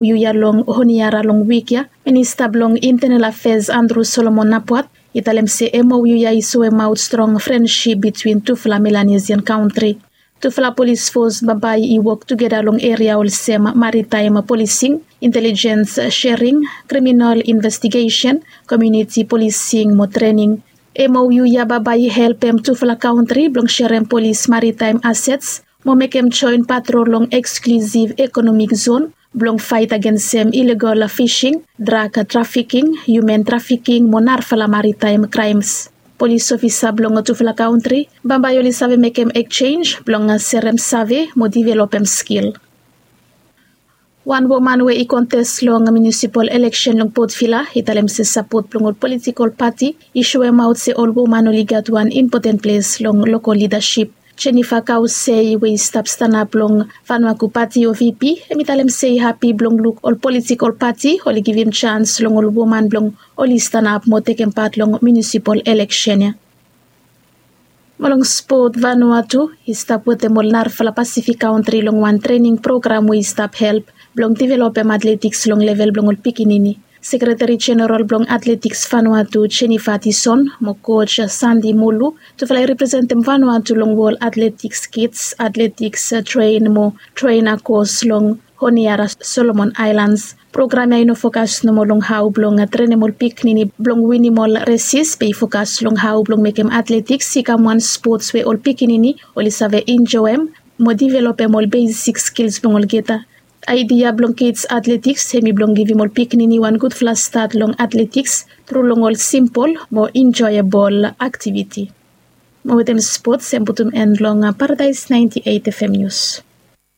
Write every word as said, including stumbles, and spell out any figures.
Mou ya long Honiara long wik ya, Minista blong Internal Affairs Andrew Solomon Napuat i talem se mou ya i soemaot strong frensip bitwin tufala Melanesian kantri. Tufala polis fos bambae i wok tugeta long eria olsem maritaem polising, intelijens shering, kriminal investigesen, komiuniti polising mo trening. Mou ya bambae i helpem tufala kantri blong sherem polis maritaem asets mo mekem joen patrol long eksklusiv ekonomik zon blong faet agensem ilegal fising, drag trafiking, hiumen trafiking mo narafala maritaem kraems. Polis ofisa blong tufala kantri bambae oli save mekem eksenj blong serem save mo developem skil. Wan woman we i kontes long munisipal eleksen long Port Vila i talem se sapot blong ol politikol pati i soemaot se ol woman oli gat wan impoten ples long lokol lidasip. Jennifer Kausei we i stap stanap long Vanuatu Pati o V P, hem i talem se i hapi blong luk ol politikol pati oli givim jans long ol woman blong oli stanap mo tekem pat long munisipal eleksen ya. Mo long spot, Vanuatu i stap wetem ol narafala Pasifik kantri long wan trening program we i stap help blong developem atletiks long level blong ol pikinini. Sekreteri Jeneral blong Atletiks Vanuatu, Jennifer Tison, mo koj Sandy Mulu, tufala i representem Vanuatu long Wol Atletiks Kits Atletiks Tren mo Trena kos long Honiara, Solomon Aelans. Program ya i no fokas nomo long hao blong trenem ol pikinini blong winim ol resis, be i fokas long hao blong mekem atletiks i kam wan spots we ol pikinini oli save enjoem mo developem ol besik skils blong olgeta. Aedia blong Kits Atletiks hem i blong givim ol pikinini wan gudfala stat long atletiks tru long ol simpol mo enjoebol aktiviti. Mo wetem spots hem putum en long Paradaes naenti eit FM nius.